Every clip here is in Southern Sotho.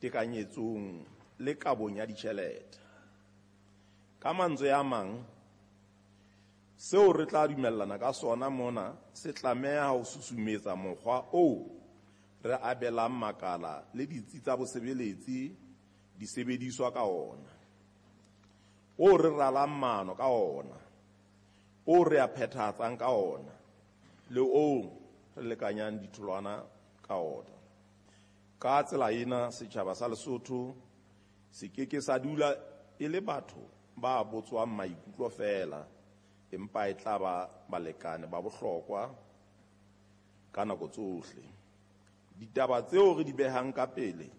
tekanyetsong le kabong ya ditjhelete. Ka mantswe a mang, seo re tla dumellana ka sona mona se tlameha ho susumetsa mokgwa oo re abelang makala le ditsi tsa bosebeletsi disebediswa ka ona, oo re ralang maano ka ona, oo re a phethahatsang ka ona, le oo re lekanyang ditholwana ka ona. Ka tsela ena, setjhaba sa Lesotho se ke ke sa dula e le batho ba botswang maikutlo feela, empa e tla ba balekane ba bohlokwa ka nako tsohle. Ditaba tseo re di behang ka pele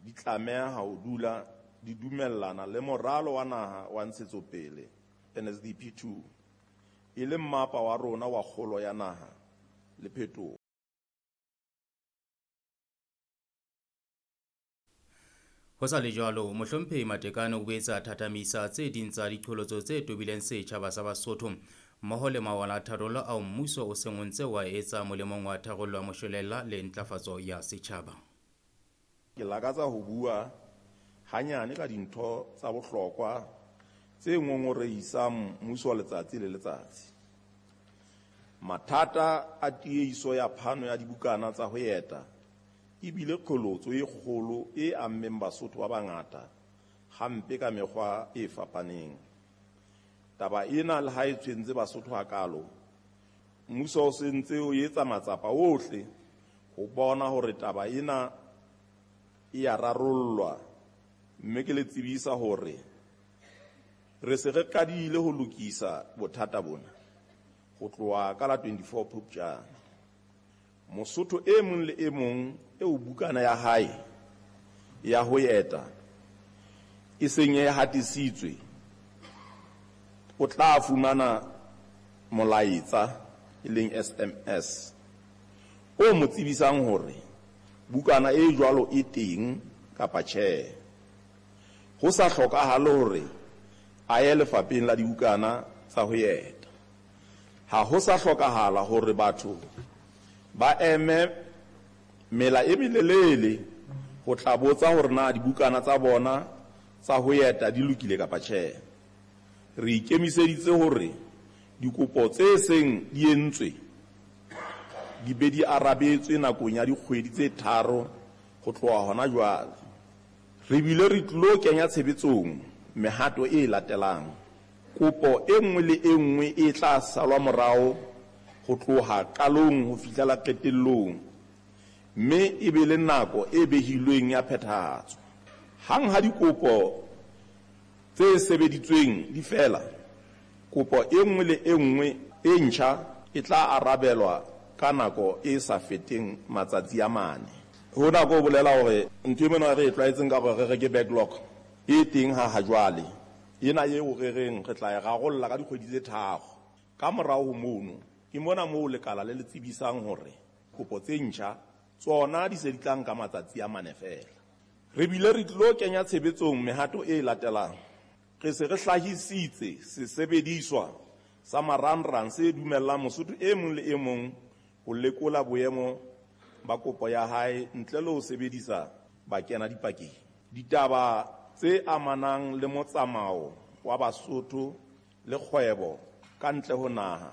di tlameha ho dula di dumellana le Moralo wa Naha wa Ntshetsopele, NSDP 2, e leng mmapa wa rona wa kgolo ya naha le phetoho. Ho sa le jwalo, Mohlomphehi Matekane o boetse a thathamisa tse ding tsa diqholotso tse tobileng setjhaba sa Basotho mmoho le mawala a tharollo ao mmuso o seng o ntse o a etsa molemong wa tharollo ya moshwelella le ntlafatso ya setjhaba. Ke lakatsa ho bua hanyane ka dintho tsa bohlokwa tse ngongorehisang mmuso letsatsi le letsatsi. Mathata a tiehiso ya phano ya dibukana tsa ho eta e bile qholotso e kgolo e ammeng Basotho ba bangata hampe ka mekgwa e fapaneng. Taba ena le ha e tshwentse Basotho hakalo, mmuso o se ntse o etsa matsapa ohle ho bona hore taba ena e a rarollwa, mme ke le tsebisa hore re se re qadile ho lokisa bothata bona ho tloha ka la 24 Phupjane. Mosotho e mong le e mong eo bukana ya hae ya ho eta e seng e hatisitswe o tla fumana molaetsa e leng SMS o mo tsebisang hore bukana e jwalo e teng kapa tjhe. Ho sa hlokahale hore a ye lefapheng la dibukana tsa ho eta. Ha ho sa hlokahala hore batho ba eme mela e melelele ho tla botsa hore na dibukana tsa bona tsa ho eta di lokile kapa tjhe. Re ikemiseditse hore dikopo tse seng di entswe di be di arabetswe nakong ya dikgwedi tse 3 ho tloha hona jwale. Re bile re tlilo kenya tshebetsong mehato e latelang. Kopo e nngwe le e nngwe e tla salwa morao ho tloha qalong ho fihlela qetellong, mme e be le nako e behilweng ya phethahatso. Hang ha dikopo tse sebeditsweng di fela, kopo e nngwe le e nngwe e ntjha e tla arabelwa ka nako e sa feteng matsatsi a 4. Hona ko bolela hore ntho e mona re e tlwaetseng ka hore re reke backlog e teng ha jwale. Ena eo re reng re tla e rarolla ka dikgwedi tse 3. Ka morao ho mono, ke mona moo lekala le le tsebisang hore kopo tse ntjha tsona di se di tla nka matsatsi a 4 feela. Re bile re tlilo kenya tshebetsong mehato e latelang. Re se re hlahisitse sesebediswa sa marangrang se dumellang Mosotho e mong le e mong ho lekola boemo ba kopo ya hae ntle le ho sebedisa bakena dipakeng. Ditaba tse amanang le motsamao wa Basotho le kgwebo ka ntle ho naha.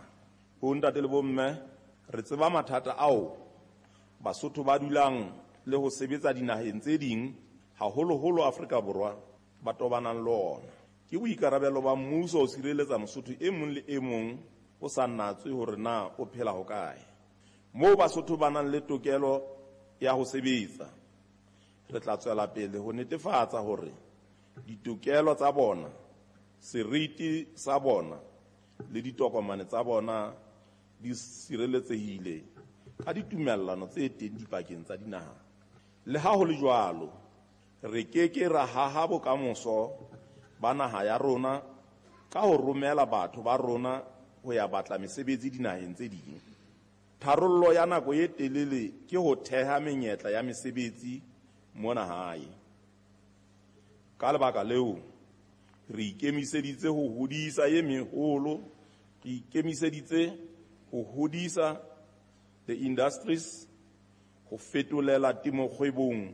Bontate le bomme, re tseba mathata ao Basotho ba dulang le ho sebetsa dinaheng tse ding, haholoholo Afrika Borwa, ba tobanang le ona. Ke boikarabelo ba mmuso ho sireletsa Mosotho e mong le e mong o sa natswe hore na o phela hokae. Moo Basotho ba nang le tokelo ya ho sebetsa, re tla tswela pele ho netefatsa hore ditokelo tsa bona, seriti sa bona le ditokomane tsa bona di sireletsehile ka ditumellano tse teng dipakeng tsa dinaha. Le ha ho le jwalo, re ke ke ra haha bokamoso ba naha ya rona ka ho romela batho ba rona ho ya batla mesebetsi dinaheng tse ding. Tharollo ya nako e telele ke ho theha menyetla ya mesebetsi mona hae. Ka lebaka leo, re ikemiseditse ho hodisa e meholo, re ikemiseditse ho hodisa the industries, ho fetolela temokgwebong.